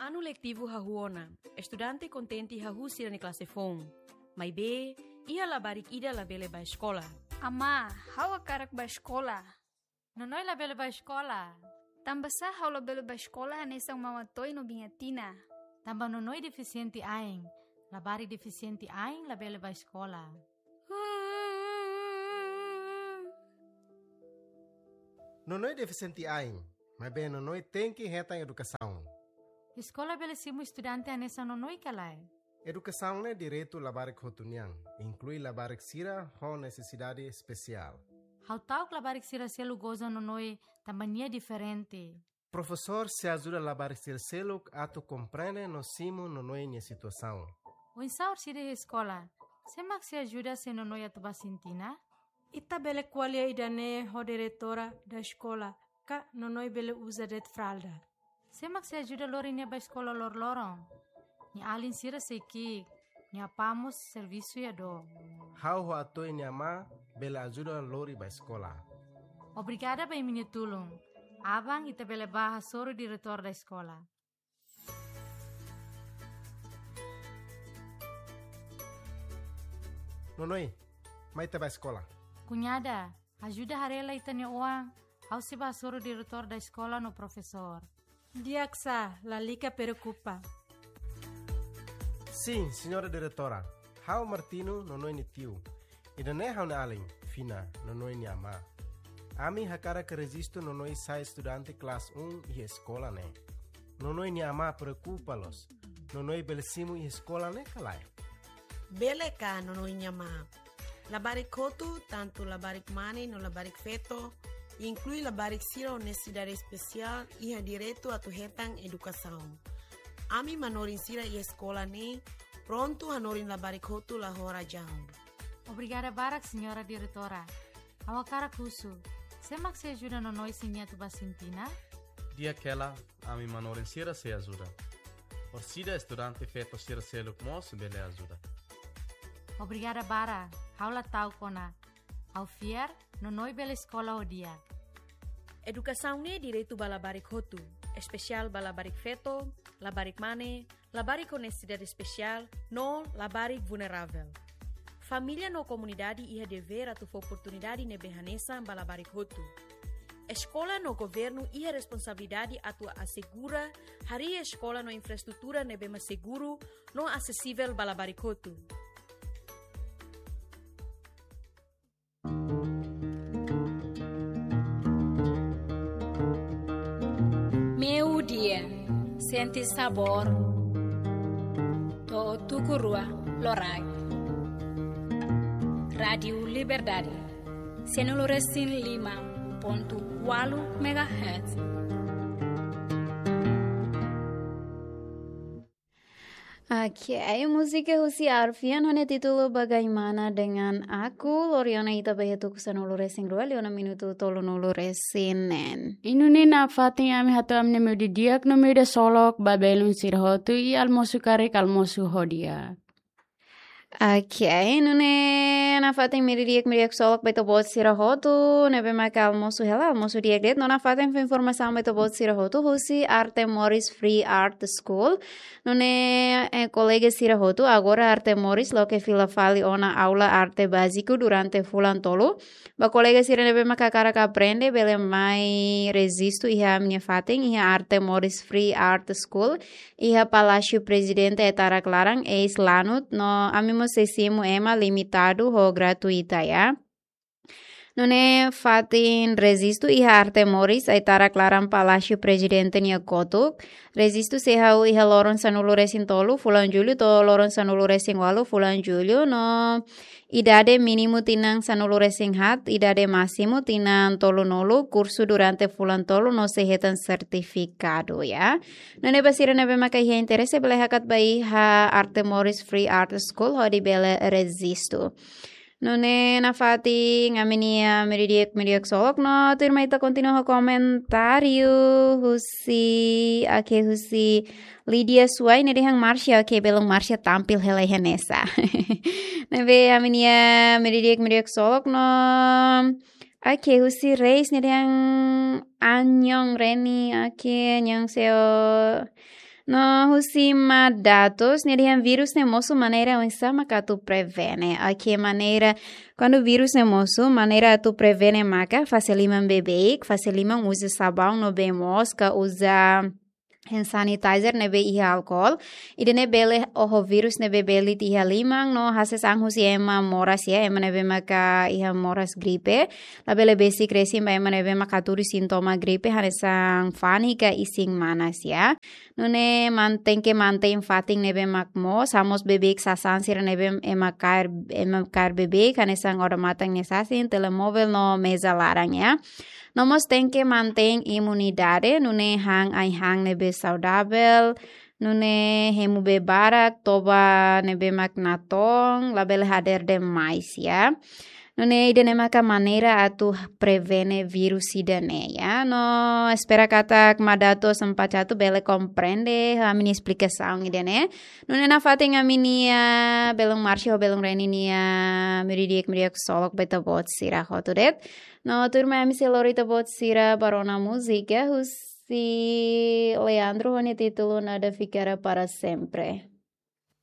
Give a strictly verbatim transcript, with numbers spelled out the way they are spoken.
Anu letivu hahú ona, estudante kontente hahú sira-nia klase foun. Maibé, iha labarik ida labele bá eskola. Amá, ha'u hakarak bá eskola. Nonoi labele bá eskola. Tanbasá ha'u labele bá eskola hanesan Mama Toy no Biña Tina? Tanba Nonoi defisiente ain. Labarik defisiente ain labele bá eskola. Nonoi defisiente ain, maibé Nonoi tenke hetan edukasaun. Eskola bele simu estudante hanesan Nonoi ka lae? Edukasaun ne'e direitu labarik hotu nian, inklui labarik sira ho nesesidade espesiál. Ha'u ta'uk labarik sira seluk goza Nonoi tanba nia diferente. Profesór sei ajuda labarik sira seluk atu komprende no simu Nonoi nia situasaun. Oinsá orsida iha eskola? Sé mak sei ajuda se Nonoi atu bá Sintina? Ita bele ko'alia ida-ne'e ho diretora da eskola, ka Nonoi bele uza de'it fralda. Sé mak sei ajuda lori nia bá eskola loroloron? Nia alin sira sei ki'ik, nia apá mós servisu iha dook. Ha'u ho Atoy nia amá bele ajuda lori bá eskola. Obrigada ba imi-nia tulun. Aban ita bele bá hasoru diretór da eskola. Nonoi, mai ita bá eskola. Kuñada, ajuda haree lai ita-nia oan, ha'u sei bá hasoru diretór da eskola no profesór. Di'ak sá, lalika preokupa. Sin, señora diretora. Ha'u Martino, Nonoi nia tiu. Ida-ne'e ha'u-nia alin, Fina, Nonoi nia amá. Ami hakarak rejistu Nonoi sai estudante klase um iha eskola ne'e. Nonoi nia amá preokupa loos. Nonoi bele simu iha eskola ne'e ka lae? Bele ka, Nonoi nia amá. Labarik hotu, tantu labarik mane no labarik feto, inklui labarik sira ho nesesidade espesiál, iha direitu atu hetan edukasaun. Ami manorin sira iha eskola ne'e prontu hanorin labarik hotu la ho razaun. Obrigada barak, señora diretora. Ha'u hakarak husu, sé mak sei ajuda Nonoi se nia atu bá Sintina? Di'ak hela, ami manorin sira sei ajuda. Orsida estudante feto sira seluk mós bele ajuda. Obrigada barak, ha'u la ta'uk ona. Ha'u fiar, Nonoi bele eskola ho di'ak. Edukasaun ne'e direitu ba labarik hotu, espesiál ba labarik feto, labarik mane, labarik ho nesesidade espesiál, no labarik vulneravel. Família no komunidade iha devér atu fó oportunidade ne'ebé hanesan ba labarik hotu. Eskola no governu iha responsabilidade atu asegura harii eskola no infraestrutura ne'ebé mak seguru no asesivel ba labarik hotu. Meiudia, sente sabór to'o tuku rua loraik. Rádiu Liberdade, sanulu resin lima pontu ualu megahertz. Oke, múzika husi Arfian ho nia títulu Bagaimana Dengan Aku, lori ona ita ba iha tuku sanulu resin rua, liu ona minutu tolunulu resin neen. I nune'e nafatin ami hato'o ami-nia meiudia di'ak no meiudia ksolok ba belun sira hotu, i almosu karik, almosu ho di'ak. Oke, nune'e nafatin meiudia di'ak, meiudia ksolok ba ita-boot sira hotu, ne'ebé maka almosu hela, almosu di'ak de'it, no nafatin fó informasaun ba ita-boot sira hotu, husi Arte Moris Free Art School. Nune'e, eh, kolega sira hotu, agora Arte Moris loke fila fali ona aula arte báziku durante fulan tolu. Ba kolega sira ne'ebé maka hakarak aprende, bele mai rejistu iha ami-nia fatin, iha Arte Moris Free Art School, iha Palásiu Prezidente Aitarak Laran, eis lanut, no ami mós sei simu ema limitadu ho gratuita, ya. Nune'e fatin rejistu iha Arte Moris, Aitarak Laran Palásiu Prezidente nia kotuk. Rejistu sei hahú iha loron sanulu resin tolu fulan Jullu to'o loron sanulu resin ualu fulan Jullu, no idade mínimu tinan sanulu resin haat, idade másimu tinan tolunulu, kursu durante fulan tolu no sei hetan sertifikadu, ya. Nune'e ba sira ne'ebé maka iha interese bele hakat ba iha Arte Moris Free Art School hodi bele rejistu. Nune'e nafatin ami-nia meiudia di'ak, meiudia ksolok no tuirmai ita kontinua ho komentáriu husi, oke, husi Lídia Suai, nia dehan Marsha, oke, belun Marsha tampil hela iha ne'e sá. Ne'ebé ami-nia meiudia di'ak, meiudia ksolok no, oke, husi Reis, nia dehan Anhong Reni, oke, annyeonghaseyo. No husi Madatus, nia dehan vírus ne'e mosu maneira oinsá mak atu prevene. Oke, maneira, kuandu vírus ne'e mosu, maneira atu prevene maka fase liman beibeik, fase liman uza sabaun no bee moos ka uza hand sanitizer ne'ebé iha alkol. Ida-ne'e bele oho vírus ne'ebé belit iha liman no hasees an husi ema moras ya, ema ne'ebé maka iha moras gripe. Labele besik resin ba ema ne'ebé maka hatudu sintoma gripe, hanesan fani ka isin manas ya. Nune'e man-, tenke mantein fatin ne'ebé mak moos, hamoos beibeik sasán sira ne'ebé ema kaer, ema kaer beibeik, hanesan odamatan nia sasin, telemóvel no meza laran ya. No mós tenke mantein imunidade, nune'e han ai-han ne'ebé saudavel, nune'e hemu bee barak, toba ne'ebé mak natoon, labele hadeer demais ya. Nune'e ida-ne'e maka maneira atu prevene vírus ida-ne'e ya. No espera katak Madatus Sampacatu bele komprende ami-nia esplikasaun ida-ne'e. Nune'e nafatin ami-nia belun Marci ho belun Reni nia meudia-di'ak, meudia-di'ak ksolok ba ita-boot sira hotu de'it. No tuirmai ami sei lori ita-boot sira ba rona múzika husi Leandro ho nia títulu Nada Ficará Para Sempre.